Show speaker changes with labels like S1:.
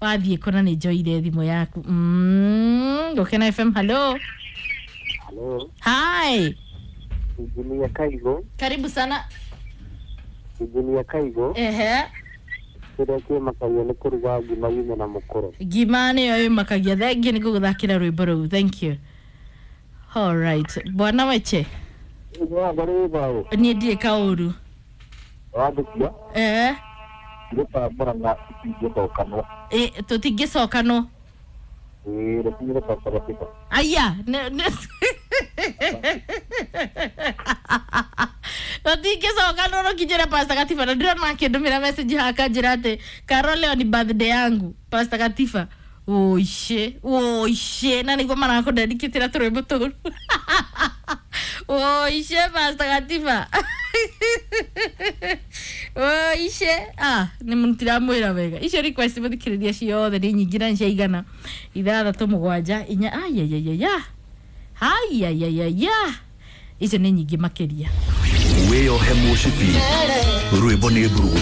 S1: Wathiĩ kũna nĩ njoire thimũ yaku. Gũkena FM, hello.
S2: Halo,
S1: Hi.
S2: Injinia Kaigo,
S1: Karibu sana.
S2: Injinia Kaigo,
S1: Ehe.
S2: kĩrĩa kĩmakagia nĩ kũruga ngima yume na mũkũro.
S1: Ngima nĩyo ĩmakagia. Thengiũ nĩ gũgũthakĩra rwĩmbo rũu. Thank you. All right. Bwana Weche.
S2: Ũgwatha rĩ thayũ,
S1: Niĩ ndirĩ kaũru.
S2: wandĩkia,
S1: Eh.
S2: gĩtambũra na itingĩcokanwo.
S1: Ĩ, tũtingĩcokanwo.
S2: Ĩĩ, rũtingĩcokanwo kĩba.
S1: Aya, tũtingĩcokanwo rũkinyĩra Pastor Katifa na ndĩrona akĩndũmĩra message haha akanjĩra atĩ Carol leo ni birthday yangu Pastor Katifa. Oishe, oishe, na nĩguo marakũndendikĩtĩra tũrwĩmbo tũru. Oishe Pastor Katifa. Oishe, ah, nĩ mũtiramwĩra wega. Icio request mũthikĩrĩria ciothe nĩ nyingĩ na nĩ ciaigana. 6 7 4 ayayayaya. Ayayayaya. Icio nĩ nyingĩ makĩria.
S3: Wĩyohe mũcibi rwĩmbo nĩ mburugutu.